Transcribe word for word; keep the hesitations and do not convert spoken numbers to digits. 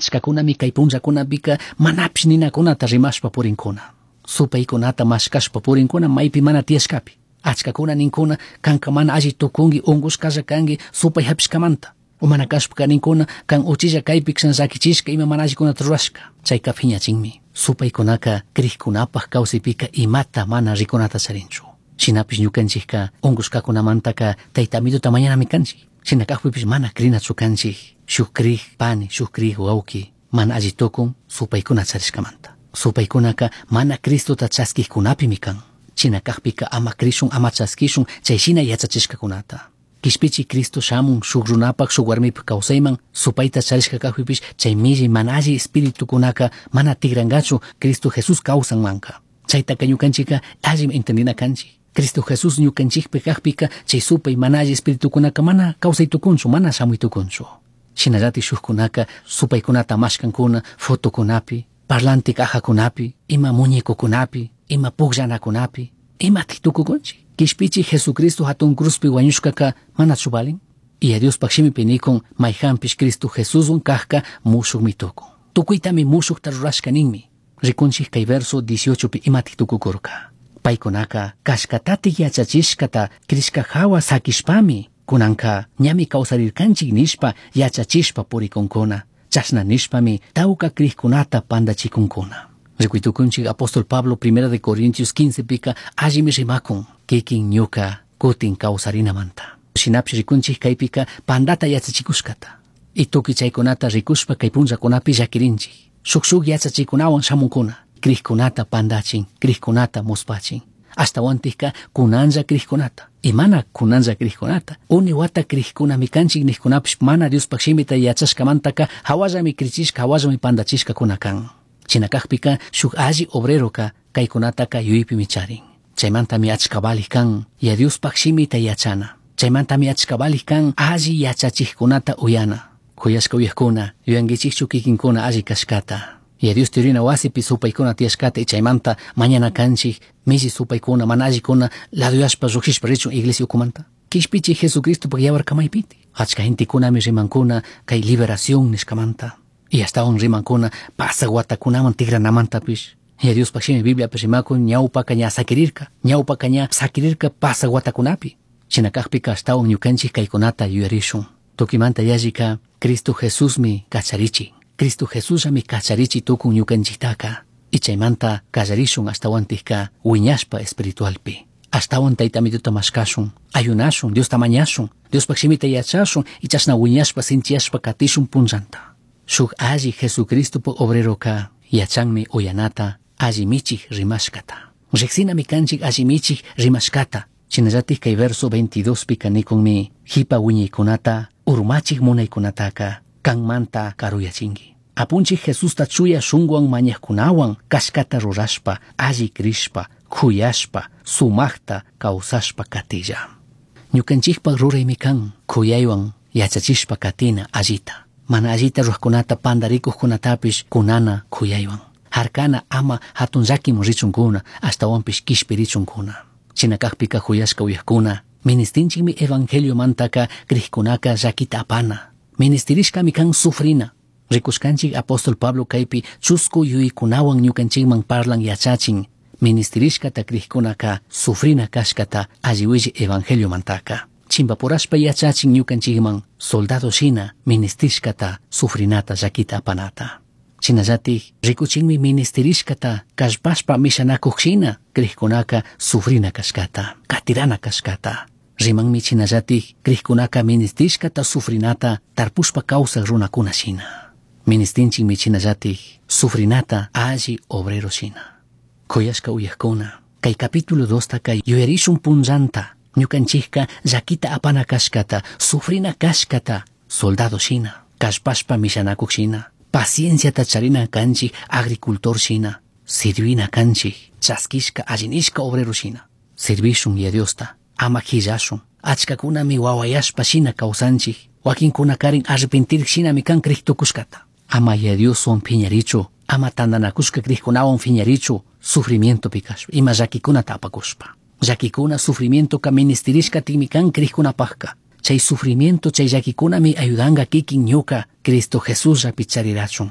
Achkakunami kay punllakunapika manapish ninakunata rimashpa purinkuna. Supaykunata mashkashpa purinkuna maypi mana tiyashkapi. Achkakuna ninkuna kanka mana alli tukunki unkushkalla kanki supay hapishkamanta. O mana kashpaka ninkuna kan uchilla kaypi llakichishka ima mana allikunata rurashka. Chayka phiñachinmi. Supaykunaka krikkunapaj kawsaypika imata mana rikunata charinchu. Shinapish ñukanchikka unkushkakunamantaka tayta amituta mañanami kanchik. Shina kajpipish mana krinachu kanchik. Shuk krik pani, shuk krik wawki mana alli tukun supaykuna charishkamanta. Supaykunaka mana Cristota chaskikkunapimi kan. Shina kajpika ama krishun ama chaskishun chay shina yachachishkakunata. Kishpichi Cristo shamun shuk runapak shuk warmipak kawsayman supayta charishka kajpipish chay milli mana alli espiritukunaka mana tigrangachu Cristo Jesús kawsanmanka. Chaytaka ñukanchika allimi entendina kanchik. Cristo Jesús ñukanchikpi kajpika chay supay mana alli espiritukunaka mana kawsay tukunchu mana shamuy tukunchu. Shinallatik shukkunaka supaykunata mashkankuna fotokunapi, parlante cajakunapi, ima muñecokunapi, ima pukllanakunapi, imatik tukukunchik. Kishpichi Jesucristo hatun cruzpi wañushkaka manachu valin? Y a Diospaj shimipi nikun mayjanpish Cristo Jesuswan kajka mushukmi tukun. Tukuytami mushukta rurashka ninmi. Rikunchik kay verso dieciochopi imatik tukukurka. Paykunaka kashkatatik yachachishkata krishka hawa sakishpami kunanka ñami kawsarirkanchik nishpa yachachishpa purikunkuna. Chashna nishpami tawka krikkunata pandachikunkuna. Rikuytukunchik apóstol Pablo primera de Corintios quince pika allimi rimakun kikin ñuka kutin kawsarinamanta. Shinapish rikunchik kaypika pandata yachachikushkata. Y tukuy chaykunata rikushpa kay punllakunapi llakirinchik. Shuk shuk yachachikunawan shamunkuna. Krikkunata pandachin, krikkunata muspachin. Ashtawantikka kunanlla krikkunata. Y mana kunanlla krikkunata. Uni wata krikkunami kanchik nijkunapish mana Diospaj shimita yachashkamantaka hawallami krichishka, hawallami pandachishkakuna kan. Shina kajpika shuk alli obreroka kaykunataka yuypimi charin. Chaymantami achka valij kan ya Diospaj shimita yachana. Chaymantami achka valij kan alli yachachijkunata uyana. Kuyashka uyajkuna, yuyankichikchu kikinkuna alli kashkata. Ya Dios tirina wasipi supaykuna tiyashkata y chaymanta mañana kanchik milli supaykuna mana allikuna laduyashpa llukshishpa richun iglesia ukumanta. Kishpichi Jesucristopak yawar kamaypiti. Achka gentekunami rimankuna kay liberación nishkamanta. Y ashtawan rimankuna pasaq watakunaman tikranamantapis. Ya Diospaj shimi Bibliapi rimakun ñawpaka ña sakirirka, ñawpaka ña sakirirka pasaq watakunapi. Shina kajpika ashtawan ñukanchik kaykunata yuyarishun. Tukimanta yallika Cristo Jesusmi kacharichin. Cristo Jesusmi kacharichi tukun ñukanchiktaka. Y chaymanta kallarishun ashtawantikka wiñashpa espiritualpi. Ashtawan tayta amituta mashkashun, ayunashun, Diosta mañashun, Diospaj shimita yachashun y chashna wiñashpa sinchiyashpa katishun punllanta. Shuk alli Jesucristopak obreroka yachanmi uyanata alli michik rimashkata. Riksinami kanchik alli michik rimashkata. Shinallatik kay verso veintidós pika nikunmi jipa wiñaykunata urmachik munaykunataka kanmanta karuyachinki. Apunchik Jesusta chuya shunguwan mañajkunawan kashkata rurashpa, alli krishpa, kuyashpa, sumaqta kawsashpa katilla. Ñukanchikpak ruraymi kan kuyaywan yachachishpa katina allita. Mana allita rurajkunata pandarikuqkunatapish kunana kuyaywan. Harkana ama hatun llakiman richunkuna, ashtawanpish kishpirichunkuna. Shina kajpika kuyashka uyajkuna, ministinchikmi evangeliomantaka krikkunaka llakita apana. Ministirishkami kan sufrina. Rikushkanchik apóstol Pablo kaypi chusku yuykunawan ñukanchikman parlan yachachin. Ministirishkata krikkunaka sufrina kashkata alliwilli evangeliomantaka. Chimpapurashpa yachachin ñukanchikman soldado shina ministishkata sufrinata llakita apanata. Shinallatik rikuchinmi ministirishkata kallpashpa mishanakuq shina krikkunaka sufrina kashkata, katirana kashkata. Rimanmi shinallatik krikkunaka ministishkata sufrinata tarpushpa kawsaq runakuna shina. Ministinchikmi shinallatik sufrinata alli obrero shina. Kuyashka uyajkuna, kay capítulo dostaka yuyarishun punllanta, ñukanchikka llakita apana kashkata, sufrina kashkata, soldado shina, kallpashpa mishanakuq shina, pacienciata charina kanchik agricultor shina, sirvina kanchik, chaskishka allinishka obrero shina. Sirvishun ya Diosta, ama hillashun, achkakunami wawayashpa shina kawsanchik, wakinkunakarin arrepentir shinami kan kriktukushkata. Ama ya Dioswan phiñarichu, ama tantanakushka krikkunawan phiñarichu, sufrimiento pikashpa, ima llakikunata apakushpa. Llakikuna sufrimientoka ministirishka tinmi kan krikkunapajka. Chay sufrimiento, chay llakikunami ayudanga kikin ñuka Cristo Jesús llapi charirachun.